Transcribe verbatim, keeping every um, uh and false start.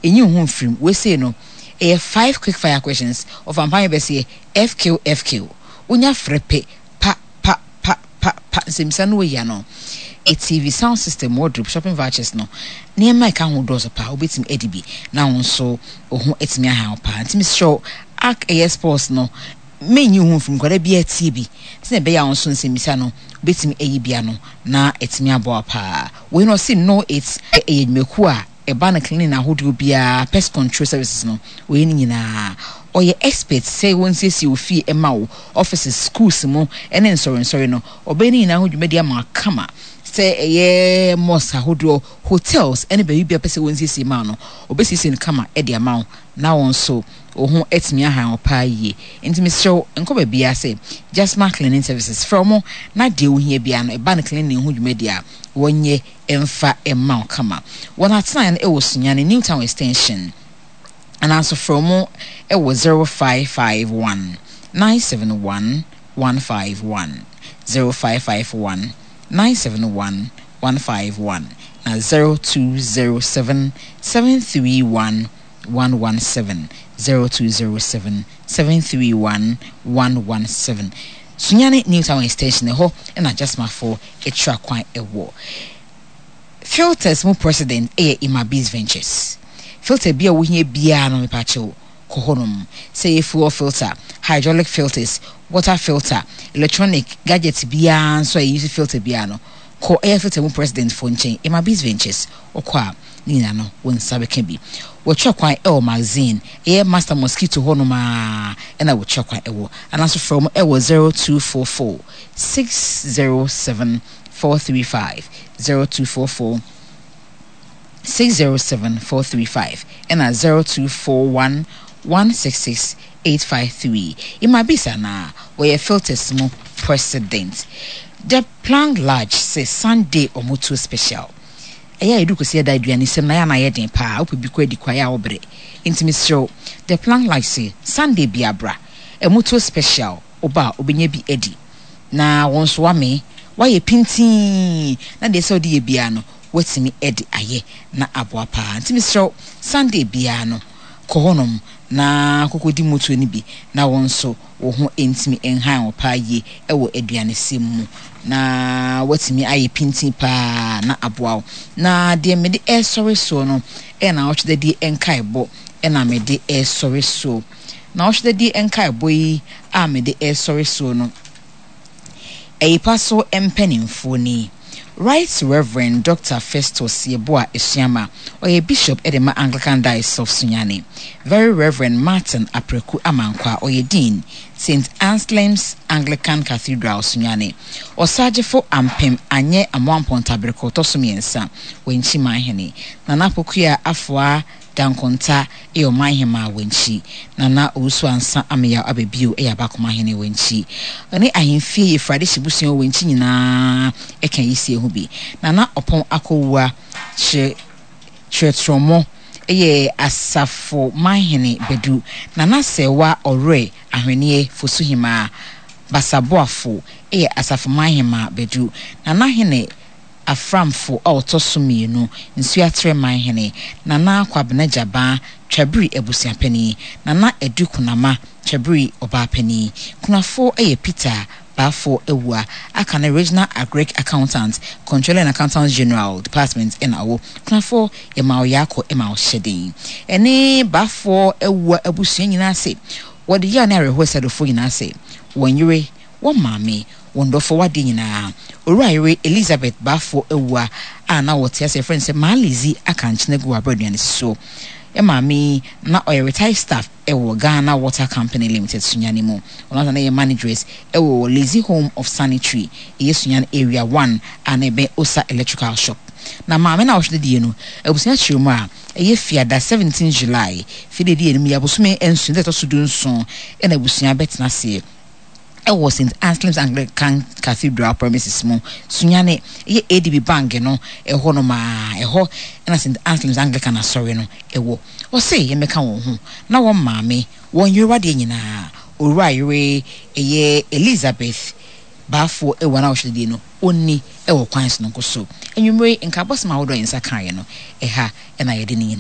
Ɛnyi wo ho mfirim. Wei sei no, ɛyɛ five quick fire questions. Ɔfa mpa bɛseɛ F Q F Q. Wonya frɛ pɛ, pa pa pa pa pa, nsɛmisa no wɔyi ano. T V, sound system, wardrobe, shopping vouchers no, nneɛma ɛka ho dɔɔso paa. Wobɛtumi adi bi na wo nso wo ho atumi aha wo paa. Nti mesrɛ wo, Ark ɛyɛ sports no, menyi wo ho mfirim. Nkwadaa bi atie bi sɛnea ɛbɛyɛ a wo nso nsɛmmisa no wobɛtumi ayi bia no na ɛtumi aboa paa. Wei no, ɔse no, it ɛyɛ dwumakuo a ɛba no cleaning ahodoɔ biara, pest control services no, wɔyɛ no nyinaa. Ɔyɛ expert sɛ wɔnsiesie wo fie, ɛma wo offices, schools mu ɛne nsɔrensɔre no, ɔbɛyɛ no nyinaa ho dwumadi ama kama. Sɛ ɛyɛ mosque ahodoɔ, hotels ɛne baabi bi a pɛ sɛ wɔnsiesie ma no, ɔbɛsiesie no kama ɛde ama wo na wɔn nso wo ho atumi ahan wo paa yie. Nti mesrɛ wo, nkɔ baabiara sɛ Jasma Cleaning Services, frɛ mo na deɛ wohia biara no, ɛba no cleaning ho dwumadi a, wɔnyɛ ɛmfa ɛma wo kama. Wɔn atenaeɛ no ɛwɔ Sunyani New Town Extension, anaasɛ frɛ mo ɛwɔ zero five five one nine seven one one five one, zero five five one nine seven one one five one, na zero two zero seven seven three one one one seven, zero two zero seven seven three one one one seven. Sunyani New Town Extension, ɛhɔ ɛna Jasmafoɔ atwa kwan ɛwɔ. Filters mu president ɛyɛ Imabis Ventures. Filter bi a wohia biara no, mepakyɛw, kɔ hɔnom. Sɛ yɛ fuel filter, hydraulic filters, water filter, electronic gadget biara nso a yɛuse filter biara no, kɔ ɛyɛ filter mu president fo nkyɛn, Imabis Ventures. Ɔkɔ a, ne nyinaa no wo nsa bɛka bi. Wɔtwa kwan ɛwɔ Magazine, ɛyɛ Master Mosquito hɔnom a ɛna wɔtwa kwan ɛwɔ, anaasɛ frɛ mo ɛwɔ zero two four four six zero seven four three five, zero two four four six zero seven four three five, ɛna zero two four one one six six eight five three. Imabisa na wɔyɛ filters mu president. The Plank Large sɛ Sunday ɔmotuo special. Ɛyɛ a yɛdu kɔsi ɛda aduane sɛm na yɛ ana yɛ den paa, wopɛ bi kɔ adi kwa yɛ a wobrɛ. Nti mesrɛ, The Plank Large sɛ Sunday bi abra, ɛmotuo special. Woba a, wobɛnya bi adi na wɔn nso wame wayɛ pintii na deɛ sɛ wode yɛ biara no, watumi de ayɛ na aboa paa. Nti mesrɛ, Sunday biara no, kɔ hɔnom na kɔkɔdi motuo no bi na wɔn nso wo ho ntumi nhan wɔ paa yie ɛwɔ aduanesɛm mu na watumi ayɛ pintin paa na aboa wo. Na deɛ mede ɛresɔre soɔ no ɛyɛ na ɔtwedadie nkaebɔ ɛna mede ɛresɔre soɔ. Na ɔtwedadie nkaebɔ yi a mede ɛresɔre soɔ no, ɛyipa so mpanimfoɔ ni: Right Reverend Doctor Festus Yeboah Esuama, ɔyɛ bishop ɛde ma Anglican Diocese of Sunyani; Very Reverend Martin Apreku Amankwa, ɔyɛ dean, Saint Anselm's Anglican Cathedral, Sunyani; Ɔsagyefo Ampem Anyɛ Amoampɔntabereko ɔtɔ so mmiɛnsa, Wankyi Manhene; Nana Pokua Afoa Dankonta ɛyɛ ɔmanhema Wankyi; Nana Owusu Ansa Ameyaw Ababio ɛyɛ abakomahene Wankyi; ɔne ahemfie yɛfrade hyebusua wɔ Wankyi nyinaa ɛka yisie ho bi; Nana Ɔpɔn Akɔwua kyerɛ kyerɛtrɔmɔ ɛyɛ asafo manhene Bɛdu; Nana Sɛwa Ɔwerɛ Ahwenneɛ Fosuhemaa Basaboafo ɛyɛ asafo manhema Bɛdu; Nana Hene Aframfo a ɔtɔ so mmienu, Nsuatrɛ manhene; Nana Kwabena Gyabaa, Twabiri abusuapanin; Nana Edu Kunama, Twabiri ɔbaapanin. Kunafoɔ yɛ Peter Baafo Awua aka ne Regional Agric Accountant, Controller and Accountant General Department ɛna ɔwɔ. Kunafoɔ, yɛma ɔyɛ akɔ ɛma ɔhyɛ den. Ɛne Baafoɔ Awua abusua nyinaa se wɔde yaw ne awerɛhoɔ sɛdofoɔ nyinaa sɛ wɔn yere, wɔn maame, wɔn dɔfo wadeɛ nyinaa, Owura yere Elizabeth Baafoɔ Awua a na wɔte ase yɛfrɛ no sɛ Maalizi aka nkyene gu abere aduane si so. Maame na ɔyɛ retired staff ɛwɔ Ghana Water Company Limited Sunyani mu. Ɔno asa na yɛ managers ɛwɔ Lazy Home of Sanitary, ɛyɛ Sunyani Area one a na ɛbɛn Osa Electrical Shop. Na maame na ɔhwɛ die no, abusua kyerɛ mu a ɛyɛ Fiada seventeen July, fide di anim yɛ abosome nson dɛ ɛtɔ so du nson, ɛna abusua bɛtena aseɛ ɛwɔ Saint Anselm's Anglican Cathedral premises mu, Sunyane, ɛyɛ A D B Bank no ɛhɔ nom a ɛhɔ ɛna Saint Anselm's Anglican asɔre no ɛwɔ. Ɔse yɛmmɛka wɔn ho na wɔn maame, wɔn yerewadeɛ nyinaa, Owura yere ɛyɛ Elizabeth Baafoɔ ɛwɔ na ɔhwɛ die no ɔnni ɛwɔ kwan sononko so. Anwummere nkabɔsɛm ahodoɔ a yɛn nsa kaeɛ no, ɛha ɛna yɛde ne nyinaa.